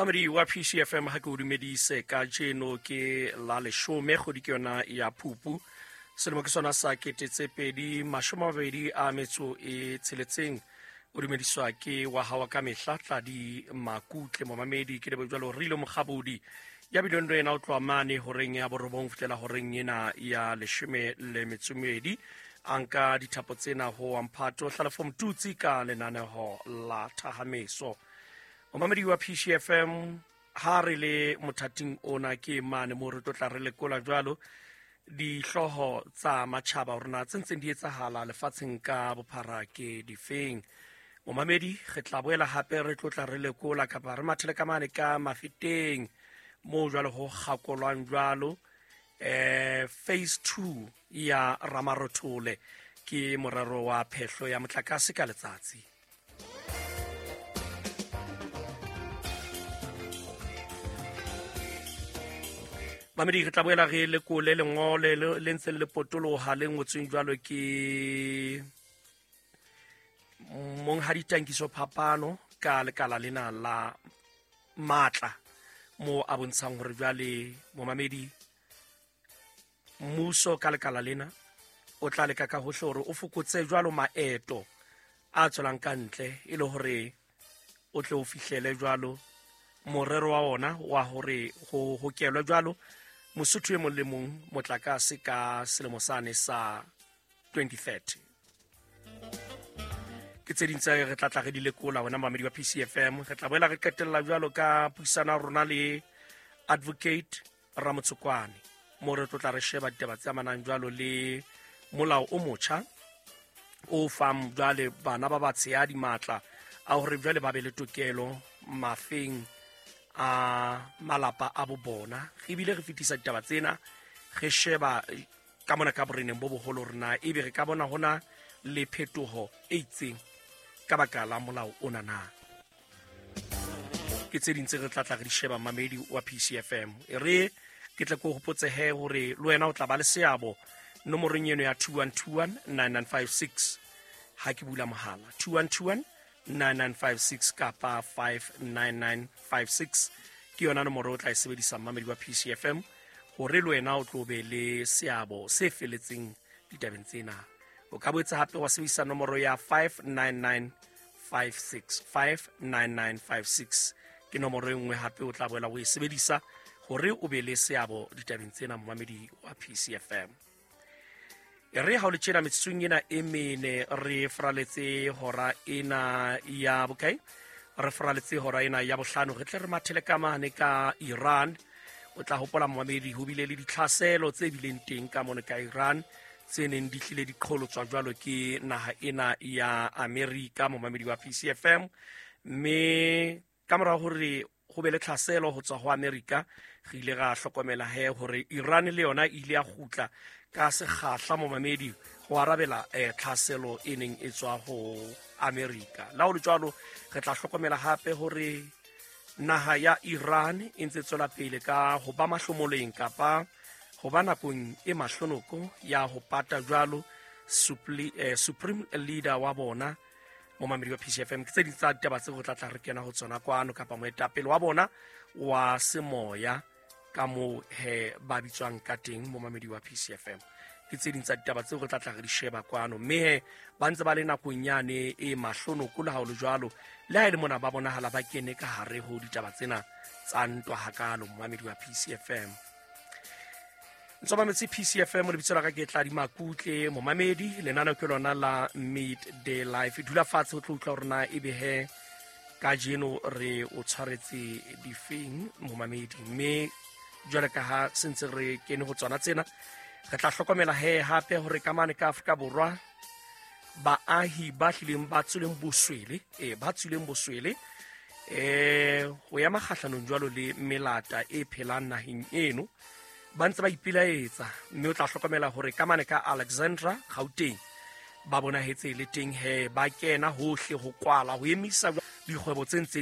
Mamedi wa PCFM, ha ke o dumedise kajeno ke la 10 kgwedi ke yona ya Phupu, selemo ke sona sa 2026. O dumediswa ke wa hawa ka mehla Tladi Makutle. Momamedi ke lebo jwalo Rilo Mokgabodi ya bileng le wena o tloha mane horeng ya 9 fihlela horeng ena ya 12. A nka dithapo tsena ho Mphato Hlalefo Mtutsi ka lenaneho la Thahameso. Momamedi wa PCFM, ha re le mothating ona ke mane mo re tlo tla re lekola jwalo dihlooho tsa matjhaba hore na tse ntseng di etsahala lefatsheng ka bophara ke difeng. Momamedi, re tla boela hape re tlo tla re lekola kapa re mathele ka mane ka Mafeteng moo jwalo ho kgakolwang jwalo phase 2 ya Ramarothole ke morero wa phehlo ya motlakase ka letsatsi. Mamedi, re tla boela re lekole lengole le ntseng le potoloha le ngotsweng jwalo ke Monghadi Tankiso Phapano ka lekala lena la matla, mo a bontshang hore jwale momamedi mmuso ka lekala lena o tla leka ka hohle hore o fokotse jwalo maeto a tswelang ka ntle e le hore o tle o fihlele jwalo morero wa ona wa hore ho hokelwe jwalo Mosotho e mong le mong motlakase ka selemo sane sa 2030. Ke tse ding tse re tla tla re di lekola wena mamedi wa PCFM. Re tla boela re qetella jwalo ka puisano ya rona le Advocate Ramotsokwane, mo re tlo tla re sheba ditaba tse amanang jwalo le molao o motjha o fang jwale bana ba batshehadi matla a hore jwale ba be le tokelo mafeng a malapa a bo bona. Re bile re fetisa ditaba tsena re sheba ka mona ka boreneng bo boholo rena ebe re ka bona hona le phetoho e itseng ka baka la molao ona na. Ke tse ding tse re tla tla re di sheba mamedi wa PCFM. E re ke tle ke o hopotse he hore le wena o tla ba le seabo nomorong eno ya 2121 9956 ha ke bula mohala 2121 9956 kapa 59956 ke yona nomoro o tla e sebedisa mamedi wa PCFM hore le wena o tlo be le seabo se feletseng ditabeng tsena. O ka boetse hape wa sebedisa nomoro ya 59956, 59956 ke nomoro e nngwe hape o tla boela o e sebedisa hore o be le seabo ditabeng tsena momamedi wa PCFM. E re ha o le tjena metsotsong ena e mene re fraletse hora ena ya bokae, re fraletse hora ena ya bohlano, re tle re mathele ka mane ka Iran. O tla hopola momamedi ho bile le ditlhaselo tse bileng teng ka mone ka Iran tse neng di hlile di qholotswa jwalo ke naha ena ya Amerika momamedi wa PCFM. Mme ka mora hore ho be le tlhaselo ho tswa ho Amerika, re ile ra hlokomela he hore Iran le yona e ile ya kgutla ka sekgahla momamedi ho arabela tlhaselo e neng e tswa ho Amerika. La ho le jwalo re tla hlokomela hape hore naha ya Iran e ntse tswela pele ka ho ba mahlomoleng kapa ho ba nakong e mahlonoko ya ho pata jwalo supreme leader wa bona momamedi wa PCFM. Ke tse ding tsa ditaba tse re tla tla re kena ho tsona kwano, kapa moetapele wa bona wa semoya ka moo he ba bitswang ka teng momamedi wa PCFM. Ke tse ding tsa ditaba tseo re tla tla re di sheba kwano, mme he ba ntse ba le nakong yane e mahlonoko le ha ho le jwalo, le ha e le mona ba bonahala ba kene ka hare ho ditaba tsena tsa ntwa hakalo momamedi wa PCFM. Ntse mametse PCFM, lebitso la ka ke Tladi Makutle momamedi, lenaneo ke lona la Midday Life. Dula fatshe o tlo utlwa hore na ebe he kajeno re o tshwaretse difeng momamedi. Mme jwale ka ha se ntse re kene ho tsona tsena, re tla hlokomela he hape hore ka mane ka Afrika Borwa baahi ba hlileng ba tswileng boswele, ba tswileng boswele ho ya makgahlanong jwalo le melata e phelang naheng eno ba ntse ba ipelaetsa. Mme o tla hlokomela hore ka mane ka Alexandra Gauteng ba bonahetse le teng he ba kena hohle ho kwala ho emisa dikgwebo tse ntseng